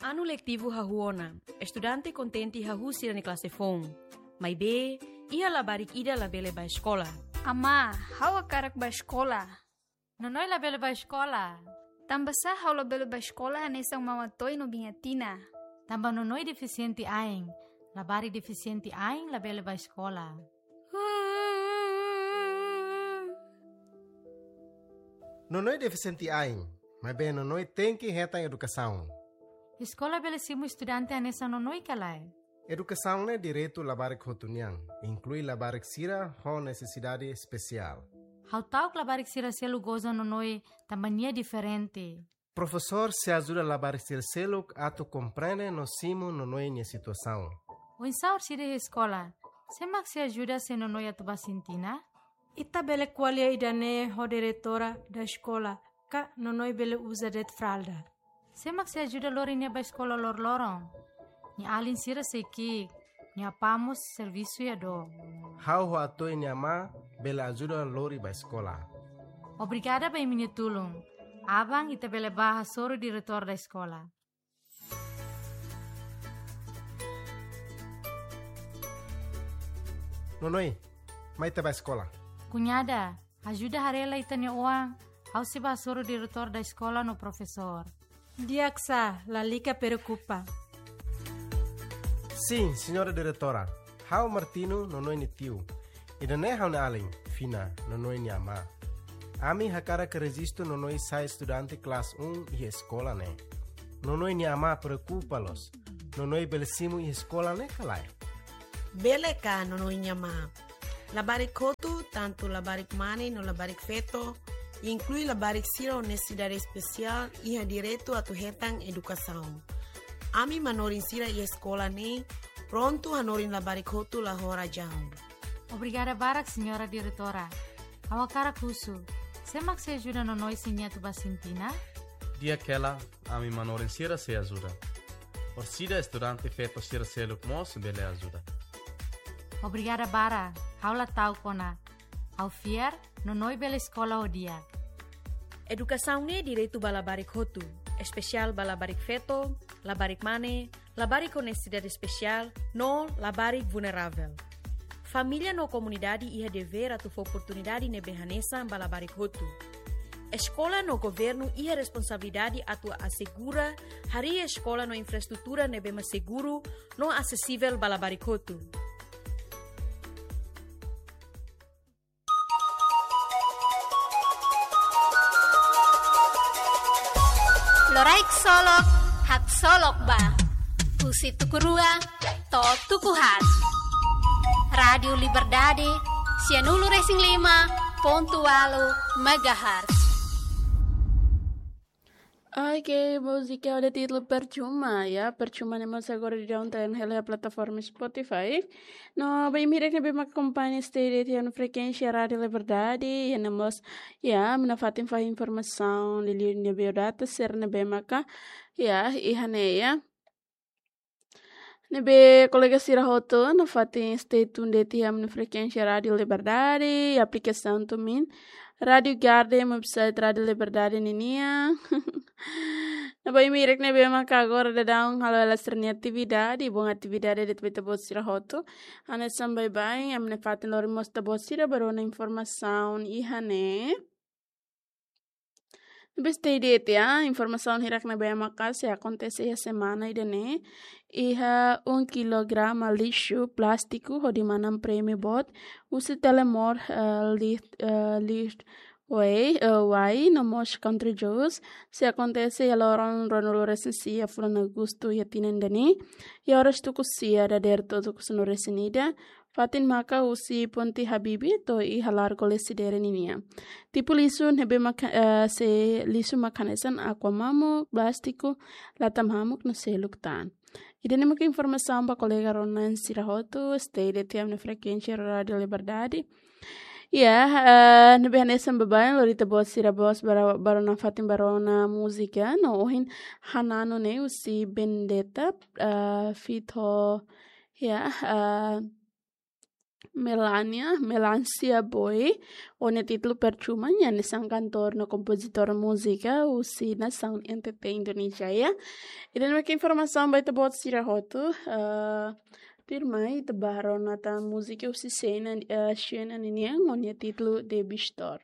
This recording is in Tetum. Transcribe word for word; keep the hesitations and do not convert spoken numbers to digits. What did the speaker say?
Anu letivu hahú ona, estudante kontente hahú sira-nia klase foun. Maibé, iha labarik ida labele bá eskola. Amá, ha'u hakarak bá eskola. Nonoi labele bá eskola. Tanbasá ha'u labele bá eskola hanesan Mama Toy no Biña Tina? Tanba Nonoi defisiente ain. Labarik defisiente ain labele bá eskola. Nonoi defisiente ain, maibé Nonoi tenke hetan edukasaun. Eskola bele simu estudante hanesan Nonoi ka lae? Edukasaun ne'e direitu labarik hotu nian, inklui labarik sira ho nesesidade espesiál. Ha'u ta'uk labarik sira seluk goza Nonoi tanba nia diferente. Profesór sei ajuda labarik sira seluk atu komprende no simu Nonoi nia situasaun. Oinsá orsida iha eskola? Sé mak sei ajuda se Nonoi atu bá sintina? Ita bele ko'alia ida-ne'e ho diretora da eskola, ka Nonoi bele uza de'it fralda. Sé mak sei ajuda lori nia bá eskola loroloron? Nia alin sira sei ki'ik, nia apá mós servisu iha dook. Ha'u ho Atoy nia amá bele ajuda lori bá eskola. Obrigada ba imi-nia tulun. Aban ita bele bá hasoru diretór da eskola. Nonoi, mai ita bá eskola. Kuñada, ajuda haree lai ita-nia oan, ha'u sei bá hasoru diretór da eskola no profesór. Di'ak sá, lalika preokupa. Sin, señora diretora. Ha'u Martino, Nonoi nia tiu. Ida-ne'e ha'u-nia alin, Fina, Nonoi nia amá. Ami hakarak rejistu Nonoi sai estudante klase un iha eskola ne'e. Nonoi nia amá preokupa loos. Nonoi bele simu iha eskola ne'e ka lae? Bele ka, Nonoi nia amá. Labarik hotu, tantu labarik mane no labarik feto, inklui labarik sira ho nesesidade espesiál, iha direitu atu hetan edukasaun. Ami manorin sira iha eskola ne'e prontu hanorin labarik hotu la ho razaun. Obrigada barak, señora diretora. Ha'u hakarak husu, sé mak sei ajuda Nonoi se nia atu bá sintina? Di'ak hela, ami manorin sira sei ajuda. Orsida estudante feto sira seluk mós bele ajuda. Obrigada barak, ha'u la ta'uk ona. Ha'u fiar, Nonoi bele eskola ho di'ak. Edukasaun ne'e direitu ba labarik hotu, espesiál ba labarik feto, labarik mane, labarik ho nesesidade espesiál, no labarik vulneravel. Família no komunidade iha devér atu fó oportunidade ne'ebé hanesan ba labarik hotu. Eskola no governu iha responsabilidade atu asegura harii eskola no infraestrutura ne'ebé mak seguru no asesivel ba labarik hotu. Loraik solok, haksolok ba. Husi tuku rua to'o tuku haat. Rádiu Liberdade, sianulu resin lima pontu ualu megahertz. Oke, múzika ho títulu Percuma, ya. Percuma ne'e mós agora daudaun ita hetan iha plataforma Spotify. No, ba imi hirak ne'ebé mak akompaña ita iha frekuénsia Rádiu Liberdade, ya, ne'e mós, ya, ami nafatin fahe informasaun liuliu ne'ebé data sira ne'ebé maka, ya, iha ne'e, ya. Ne'ebé kolega sira hotu nafatin stay tuned de'it iha ami-nia frekuénsia Rádiu Liberdade, aplikasaun TuneIn, Rádiu Garden, website Rádiu Liberdade ninian. No ba imi hirak ne'ebé maka agora daudaun halo hela sira-nia atividade, boun atividade de'it ba ita-boot sira hotu. Hanesan baibain, ami nafatin lori mós ita-boot sira ba rona informasaun iha ne'e. Ne'ebé stay de'it, ya, informasaun hirak ne'ebé maka sei akontese iha semana ida-ne'e. Iha um quilograma lixu plástiku hodi manán prémiu boot husi Telemor, eh, Licht, eh, Lichtway, eh, Wai, no mós Country Juice, sei akontese iha loron ruanulu resin sia fulan Agostu iha tinan ida-ne'e, iha oras tuku sia dadeer to'o tuku sanulu resin ida, fatin maka husi Ponte Habibie to'o iha Largo Lecidere ninian. Tipu lixu ne'ebé maka, eh, sei lixu maka hanesan aqua mamuk, plástiku, lata mamuk no seluk tan. Ida-ne'e maka informasaun ba kolega rona sira hotu, stay de'it iha ami-nia frekuénsia Rádiu Liberdade. Ya, eh, ne'ebé hanesan baibain lori ita-boot sira mós ba ro-, ba rona fatin ba rona múzika, no ohin Hanano ne'e husi Vendetta, eh, feat ho, ya, eh, Melania, Melancia Boy, ho nia títulu Percuma, nia hanesan kantór no kompozitór múzika husi nasaun N T T Indonézia, ya. Ida ne'e mak informasaun ba ita-boot sira hotu, eh, tuirmai ita bá rona tan múzika husi Sheena, eh, Sheena ninian, ho nia títulu Debbie Store.